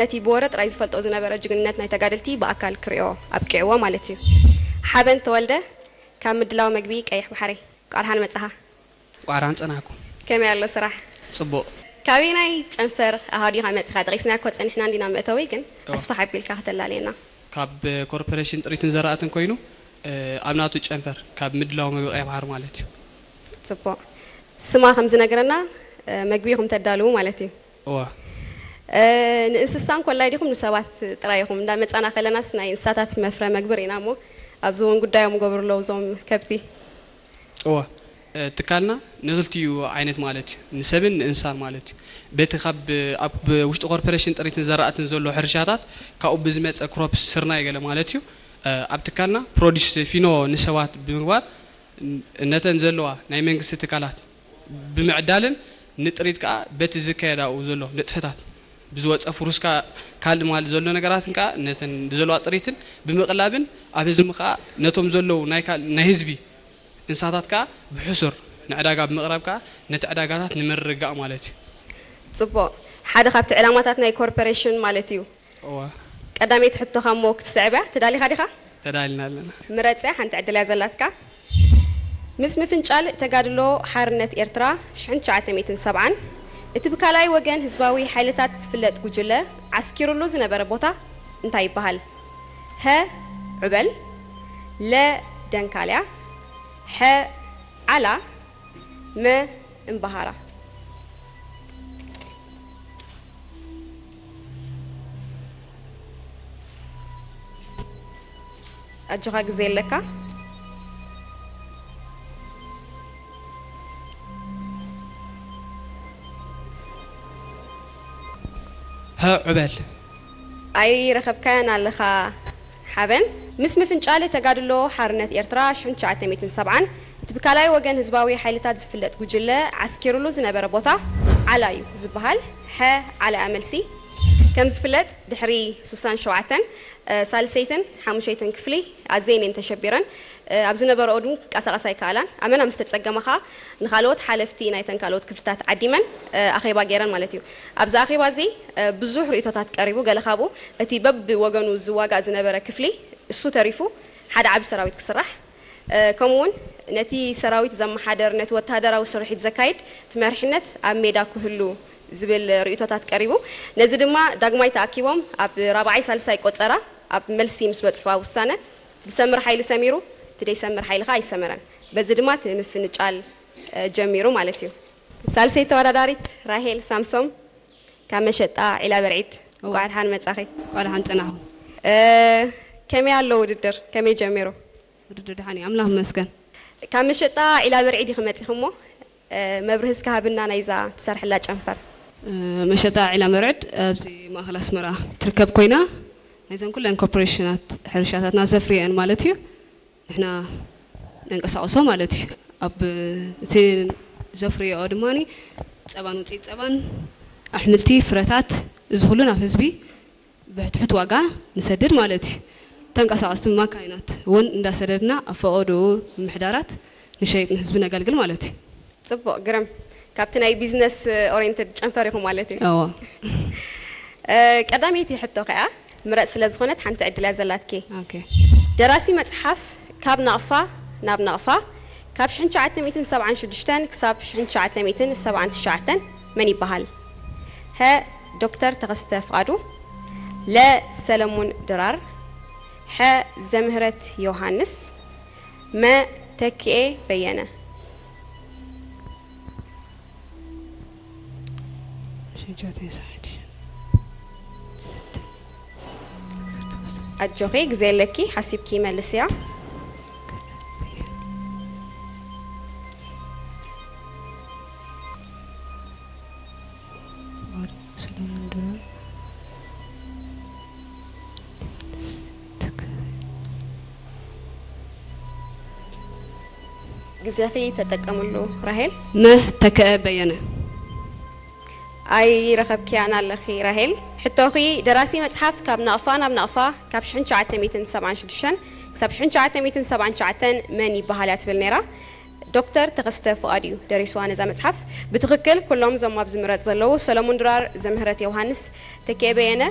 ነቲ ብወረ ጥራይ ዝፈልጦ ዝነበረ ጅግንነት ናይ ተጋደልቲ ብኣካል ክርእዮ ኣብቂዕዎ ማለት እዩ። ሓበን ተወልደ ካብ ምድላው መግቢ ቀይሕ ባሕሪ፣ እንቋዕ ደሓን መጻኻ። እንቋዕ ደሓን ጸናሕኩም። ከመይ ኣሎ ስራሕ? ጽቡቕ። ካበየናይ ጨንፈር ኣሃዱ ኢኻ መጺኻ? ጠቒስናዮ እኮ ጸኒሕና እንዲና መእተዊ፣ ግን ኣስፍሕ ኣቢልካ ከተላልየና። ካብ ኮርፖሬሽን ጥሪትን ዘራእትን ኮይኑ፣ ኣብ ናቱ ጨንፈር ካብ ምድላው መግቢ ቀይሕ ባሕሪ ማለት እዩ። ጽቡቕ። ስማ ከም ዝነግረና፣ መግቢ ኢኹም ተዳልዉ ማለት እዩ። እዋ። ንእንስሳ እንኮላይ ዲኹም ንሰባት ጥራይ ኢኹም? እንዳ መጻና ከለናስ ናይ እንስሳታት መፍረ መግቢ ርኢና እሞ፣ ኣብዚ እውን ጉዳዮም ገብሩ ኣለዉ እዞም ከብቲ። እዋ። ትካልና ንክልቲኡ ዓይነት ማለት እዩ፣ ንሰብን ንእንስሳን ማለት እዩ። በቲ ካብ ኣብ ውሽጢ ኮርፖሬሽን ጥሪትን ዘራእትን ዘሎ ሕርሻታት ካብኡ ብዝመፀ ክሮፕስ ስርናይ ገለ ማለት እዩ። ኣብ ትካልና ፕሮዲስ ፊኖ ንሰባት ብምግባር ነተን ዘለዋ ናይ መንግስቲ ትካላት ብምዕዳልን ንጥሪት ከዓ በቲ ዝካየድ ኣብኡ ዘሎ ንጥፈታት ብዝወፀ ፍሩስካ ካልእ ማል ዘሎ ነገራትን ከዓ ነተን ዘለዋ ጥሪትን ብምቕላብን ኣብ ህዝቢ ከዓ ነቶም ዘለዉ ናይ ካል- ናይ ህዝቢ እንስሳታት ከዓ ብሕሱር ንዕዳጋ ብምቕራብ ከዓ ነቲ ዕዳጋታት ንምርግጋእ ማለት እዩ። ጽቡቕ። ሓደ ካብቲ ዕላማታት ናይ ኮርፖሬሽን ማለት እዩ። እዋ። ቀዳመይቲ ሕቶኻ እሞ ክትስዕብ እያ። ተዳሊኻ ዲኻ? ተዳሊና ኣለና። ምረጽ እያ፣ ሓንቲ ዕድል እያ ዘላትካ። ምስ ምፍንጫል ተጋድሎ ሓርነት ኤርትራ ሽሕን ትሽዓተ ሚእትን ሰብዓን፣ እቲ ብካልኣይ ወገን ህዝባዊ ሓይልታት ዝፍለጥ ጉጅለ ዓስኪሩሉ ዝነበረ ቦታ እንታይ ይበሃል? ሀ፣ ዑበል፣ ለ፣ ደንካልያ፣ ሐ፣ ዓላ፣ መ፣ እምበሃራ። ኣጆኻ ግዜ ኣለካ። ሀ፣ ዑበል። ኣይረኸብካያን ኣለኻ ሓበን። ምስ ምፍንጫል ተጋድሎ ሓርነት ኤርትራ ሽሕን ትሽዓተ ሚእትን ሰብዓን፣ እቲ ብካልኣይ ወገን ህዝባዊ ሓይልታት ዝፍለጥ ጉጅለ ዓስኪሩሉ ዝነበረ ቦታ ዓላ እዩ ዝበሃል። ሐ፣ ዓላ እያ መልሲ። ከም ዝፍለጥ ድሕሪ ሱሳን ሸውዓተን፣ እ፣ ሳልሰይትን ሓሙሸይትን ክፍሊ ኣዘየን እየን ተሸቢረን፣ እ፣ ኣብ ዝነበረኦ እውን ክንቀሳቐሳ ኣይከኣላን። ኣመና ምስ ተጸገማ ኸኣ ንኻልኦት ሓለፍቲ ናይተን ካልኦት ክፍልታት ዓዲመን፣ እ፣ ኣኼባ ገይረን ማለት እዩ። ኣብዚ ኣኼባ እዚ፣ እ፣ ብዙሕ ርእይቶታት ቀሪቡ። ገለ ካብኡ እቲ በብወገኑ ዝዋጋእ ዝነበረ ክፍሊ እሱ ተሪፉ ሓደ ዓቢ ሰራዊት ክስራሕ፣ እ፣ ከምኡውን ነቲ ሰራዊት ዘመሓደር፣ ነቲ ወተሃደራዊ ስርሒት ዘካይድ እቲ መሪሕነት ኣብ ሜዳ ክህሉ ዝብል ርእይቶታት ቀሪቡ። ነዚ ድማ ዳግማይ ተኣኪቦም ኣብ ራብዓይ ሳልሳይ ቆጸራ ኣብ መልሲ ምስ በጽሑ ኣብ ውሳነ፣ ዝሰምር ሓይሊ ሰሚሩ፣ እቲ ደይሰምር ሓይሊ ኸኣ ኣይሰመረን። በዚ ድማ እቲ ምፍንጫል፣ እ፣ ጀሚሩ ማለት እዩ። ሳልሰይቲ ተወዳዳሪት ራሄል ሳምሶም ካብ መሸጣ ዒላ በርዒድ፣ እዋ። እንቋዕ ደሓን መጻኺ። እንቋዕ ደሓን ጸናኹም። እ፣ ከመይ ኣሎ ውድድር? ከመይ ጀሚሩ? ውድድር ደሓን እዩ፣ ኣምላኽ ይመስገን። ካብ መሸጣ ዒላ በርዒድ ኢኺ መጺኺ እሞ፣ እ፣ መብርሂ እስከ ሃብና ናይዛ ትሰርሕላ ጨንፈር። እ፣ መሸጣ ዒላ በርዒድ ኣብዚ ማእከል ኣስመራ ትርከብ ኮይና፣ ናይዘን ኩለን ኮርፖሬሽናት ሕርሻታትና ዘፍርየን ማለት እዩ። ንሕና ነንቀሳቕሶ ማለት እዩ። ኣብ እቲ ዘፍርየኦ ድማ ጸባን ውፅኢት ጸባን፣ ኣሕምልቲ፣ ፍረታት፣ እዚ ኩሉ ናብ ህዝቢ ብትሑት ዋጋ ንሰድድ ማለት እዩ። ተንቀሳቐስቲ ማካይናት እውን እንዳሰደድና ኣብ ፈቐድኡ ምምሕዳራት ንሸይጥ፣ ንህዝቢ ነገልግል ማለት እዩ። ጽቡቕ፣ ግርም። ካብቲ ናይ ቢዝነስ ኦሪየንትድ ጨንፈር ኢኹም ማለት እዩ። እዎ። እ፣ ቀዳመይቲ ሕቶ ከኣ ምረጽ ስለ ዝኾነት ሓንቲ ዕድል እያ ዘላትኪ። ኦኬ። ደራሲ መጽሓፍ ካብ ናቕፋ ናብ ናቕፋ፣ ካብ ሽሕን ትሽዓተ ሚእትን ሰብዓን ሽዱሽተን ክሳብ ሽሕን ትሽዓተ ሚእትን ሰብዓን ትሽዓተን መን ይበሃል? ሀ፣ ዶክተር ተኸስተ ፍቓዱ፣ ለ፣ ሰለሙን ድራር፣ ሐ፣ ዘምህረት ዮሃንስ፣ መ፣ ተኪኤ በየነ። ኣጆኺ፣ ግዜ ኣለኪ፣ ሓሲብኪ መልስያ። ግዜኺ ተጠቀምሉ ራሄል። መ፣ ተከአ በየነ። ኣይረኸብክያን ኣለኺ ራሄል። ሕቶኺ፣ ደራሲ መጽሓፍ ካብ ናቕፋ ናብ ናቕፋ፣ ካብ ሽሕን ትሽዓተ ሚእትን ሰብዓን ሽዱሽተን ክሳብ ሽሕን ትሽዓተ ሚእትን ሰብዓን ትሽዓተን መን ይበሃል እያ ትብል ነይራ። ዶክተር ተኸስተ ፍቓድ እዩ ደሪስዋ ነዛ መጽሓፍ። ብትኽክል ኩሎም እዞም ኣብዚ ምረጽ ዘለዉ፣ ሰለሙን ድራር፣ ዘምህረት ዮሃንስ፣ ተኪኤ በየነ፣